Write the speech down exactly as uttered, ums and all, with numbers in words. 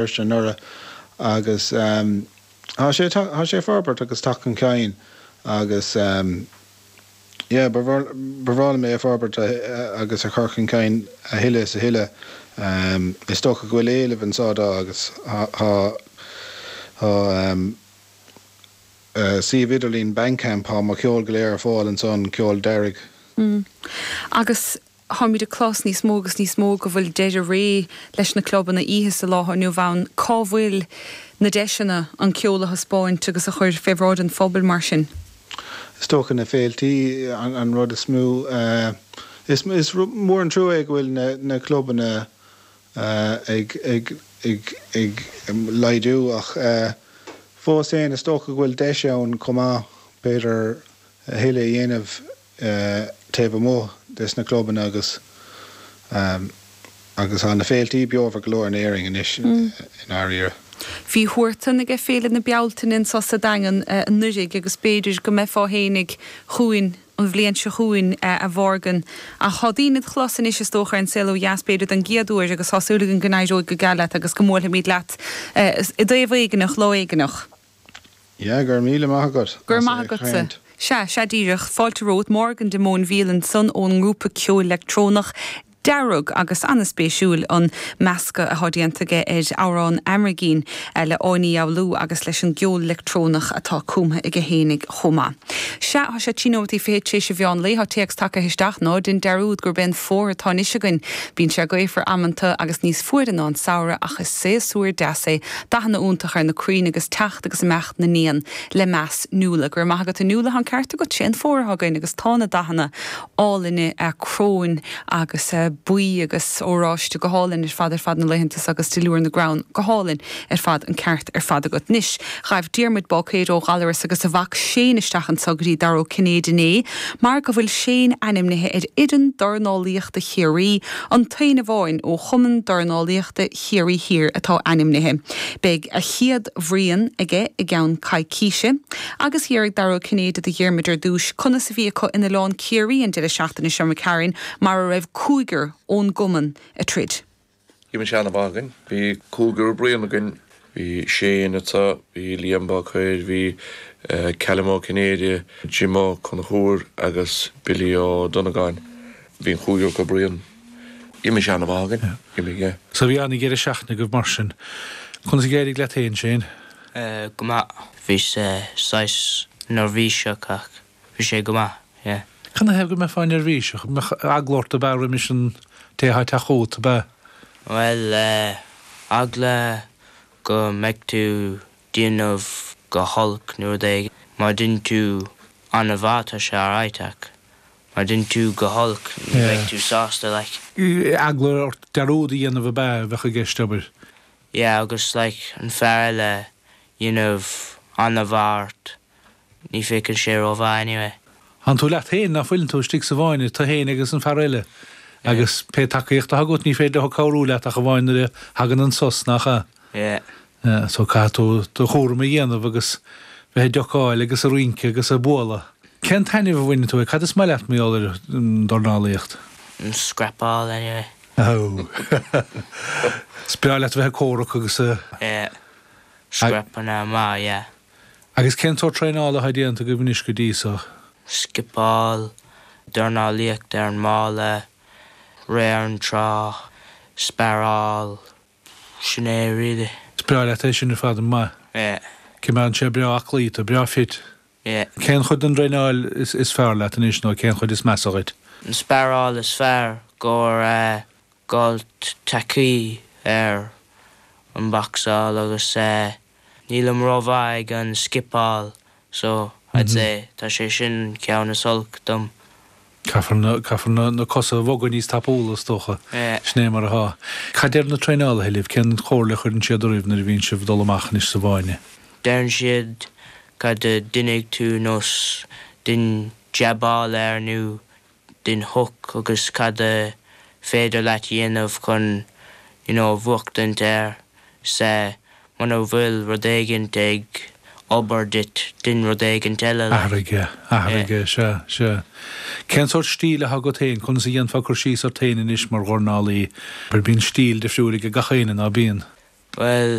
Feirste anuraidh agus tá sé tá sé ag forbairt agus teacht chun cinn agus yeah ba bhreá liom é a forbairt agus a chur chun cinn a thuilleadh is a thuilleadh. Is dócha go bhfuil éileamh anseo dó agus tá tá suíomh idirlín Bandcamp tá mo cheol go léir ar fáil ansan ceol Dearg. Agus táimid ag clos níos mó agus níos mó go bhfuil deireadh ré leis na clubanna oíche sa lá inniu ann, cá bhfuil na deiseanna an ceol a thaispeáint agus a chur fé bhráid an phobail mar sin? Is dócha na féiltí an rud is mó is is mór an trua é go bhfuil na na clubanna ag ag ag ag laghdú ach fós féin is dócha go bhfuil deis ann chomh maith b'fhéidir a thuilleadh a dhéanamh taobh amuigh des na clubanna agus agus tá na féiltí beomhar go leor in Éirinn anois i ndáiríre. Bhí Huartan ag Féile na Bealtaine anseo sa Daingean anuraidh agus b'fhéidir go mbeifeá fhéinig chugainn an bhliain seo chugainn a Mhorgan. Ach tá daoine id chlos anois is dócha ar An Saol Ó Dheas b'fhéidir don gcéad uair agus tá súil againn go n-éireoidh go geal leat agus go mbuailfimid leat i dtaobh éigineach lá éigineach. Yeah, go raibh míle maith agat. Go raibh maith agatsa. Sea, sea díreach. Fáilte romhat, Morgan de Móinbhíol ansan ón ngrúpa ceoil leictreonach Dearg agus an-spéisiúil an meascadh atá déanta aige ar amhrán Aimhirgín le Áine Ní Fhoghlú agus leis an gceol leictreonach atá cumtha aige fhéinig chomh maith. Sea, tá sé trí nóiméad fiche tar éis an mheán lae, tá téacs tagtha isteach, ná dein dearúd gurb é an fómhar atá anois againn. Bíonn sé gaofar amanta agus níos fuaire ná an samhradh ach is séasúr deas é, dathanna iontach ar na crainn agus teacht agus imeacht na n-éan le meas. Nuala, Go raibh maith agat a Nuala, tá an ceart agat, sé an fómhar atá againn agus tá na dathanna álainne cróin agus buí agus oráiste go hálainn ar fad ar fad na laethanta agus duilliúr na gcrann go hálainn ar fad an ceart ar fad agat. Anois, ghaibh Diarmuid Báicéir ó Ghallaras agus a mhac Shane isteach anseo go dtí Dara Ó Cinnéide inné mar go bhfuil Shane ainmnithe ar fhoireann dornálaíochta Chiarraí, an t-aon amháin ó Chumann Dornálaíochta Chiarraí Thiar atá ainmnithe. Beidh a chéad bhruíon aige i gceann coicíse. Agus d'fhiafraigh Dara Ó Cinnéide de Dhiarmuid ar dtús conas a bhí acu in Oileán Ciarraí an deireadh seachtaine seo imigh tharainn mar a raibh cúigear ón gcumann ag troid. Bhí sé an-mhaith againn. Bhí cúigear bruíon againn. Bhí Shane anseo, bhí Liam Báicéir, bhí Callum Ó Cinnéide, Jim Ó Conchúir agus Billy Ó Donnagáin. Bhí an chúigear acu bruíon. Bhí sé an-mhaith againn. Bhí, yeah. So bhí an-dheireadh seachtaine agaibh mar sin. Conas a d'éirigh leat féin, Shane? Go maith. Bhí sé saghas neirbhíseach ach bhí sé go maith, yeah. Cad 'na thaobh go mbeifeá neirbhíseach? Mbeadh eagla ort ab ea roimis an té atá ag teacht chugat, ab ea? Bhuel, eagla go mbeidh tú déanamh go holc nó rud éigin. Má dhein tú an-mhaith tá sé alright ach má dhein tú go holc ní bheidh tú sásta like. Eagla ort dearúd a dhéanamh ab ea a bheadh i gceist, abair? Yeah agus like an fear eile dhéanamh an-mhaith ort ní féachann sé rómhaith anyway. Tánn tú leat féin, ná fuileann tú, istigh sa bhfáinne, tú féin agus an fear eile agus pé tacaíocht atá agat ní féidir leo cabhrú leat ach amháin nuair a thagann an sos, nach ea? Yeah. Yeah, so caithfidh tú do chúram a dhéanamh agus bheith ag diocáil agus ag rince agus ag bualadh. Cén taitneamh a bhaineann tú, cad is maith leat mar gheall ar an dornálaíocht? An scrapáil anyway. Oh. Is breá leat a bheith ag comhrac agus a. Yeah. Scrapanna maith, yeah. Agus cén sórt traenála atá déanta agaibh anois go dtí so? Scipeáil, dornálaíocht ar an mballa, rith ar an trá, sparáil, sin é really. Is breá leat é sin ar fad, an maith? Yeah. Coimeádann sé breá aclaí tú, breá fit. Yeah. Cén chuid den dtraenáil is is fearr leat anois nó cén chuid is measa dhuit? An sparáil is fearr gur gabháil tacaí ar an bocsáil agus nílim rómhaith ag an scipeáil so I'd say tá sé sin an ceann is olc dom. Caithfear na caithfear na na cosa a bhogadh níos tapúla is dócha. Yeah. Sin é mar atá. Cad deir na traenálaithe libh? Cén chomhairle a chuireann siad oraibh nuair a bhíonn sibh ag dul amach anois sa bhfáinne? Deireann siad cad a déanfaidh tú nós dein jabáil air nó dein hook agus cad a féidir leat dhéanamh chun you know bhuachtaint air 's muna bhfuil rud éigint ag obair duit dein rud éigint eile like. Athraigh é, athraigh é, sea, sea. Cén sórt stíl atá agat féin, conas a dhéanfá cur síos ort féin anois mar dhornálaí? Bíonn stíl difriúil ag gach éinne, ná bíonn? Bhuel